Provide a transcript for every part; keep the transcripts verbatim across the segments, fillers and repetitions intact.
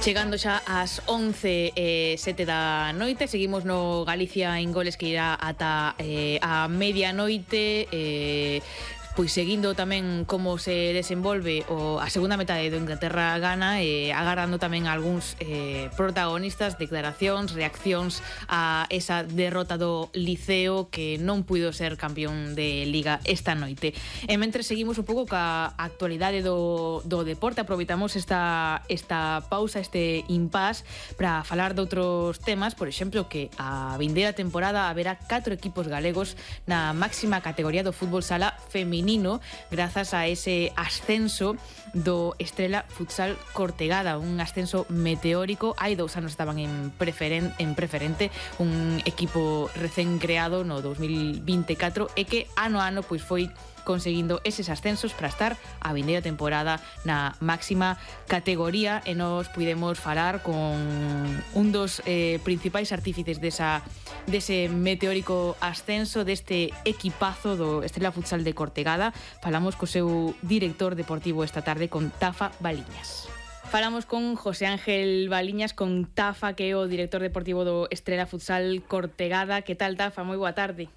Chegando xa ás once e sete da noite, seguimos no Galicia en goles que irá ata eh, a medianoite, eh, pois seguindo tamén como se desenvolve o, a segunda metade do Inglaterra gana e eh, agardando tamén algúns eh, protagonistas, declaracións, reaccións a esa derrota do Liceo que non puido ser campeón de Liga esta noite. E mentre seguimos un pouco ca actualidade do, do deporte, aproveitamos esta, esta pausa, este impás para falar de outros temas, por exemplo, que a vindeira temporada haberá catro equipos galegos na máxima categoría do fútbol sala feminino, grazas a ese ascenso do Estrela Futsal Cortegada, un ascenso meteórico. Hai dous anos estaban en, preferen, en preferente, un equipo recén creado no dos mil vinte e catro e que ano a ano pois foi conseguindo eses ascensos para estar a vindeira temporada na máxima categoría, e nos pudemos falar con un dos eh, principais artífices desa, dese meteórico ascenso, deste equipazo do Estrela Futsal de Cortegada. Falamos co seu director deportivo esta tarde, con Tafa Baliñas. Falamos con José Ángel Baliñas, con Tafa, que é o director deportivo do Estrela Futsal Cortegada. Que tal, Tafa? Moi boa tarde.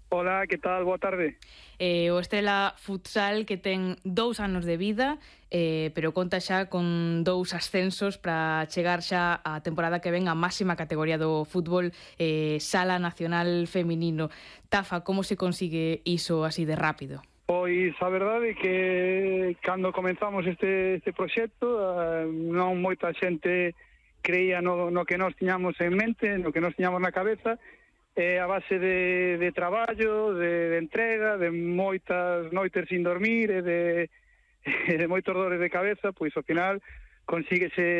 Hola, que tal? Boa tarde. Eh, o Estrela Futsal, que ten dous anos de vida, eh, pero conta xa con dous ascensos para chegar xa a temporada que ven a máxima categoría do fútbol eh, sala nacional feminino. Tafa, como se consigue iso así de rápido? Pois a verdade é que cando comenzamos este, este proxecto uh, non moita xente creía no, no que nós tiñamos en mente, no que nós tiñamos na cabeza. É a base de, de traballo, de, de entrega, de moitas noites sin dormir e de, de moitos dores de cabeza, pois ao final consíguese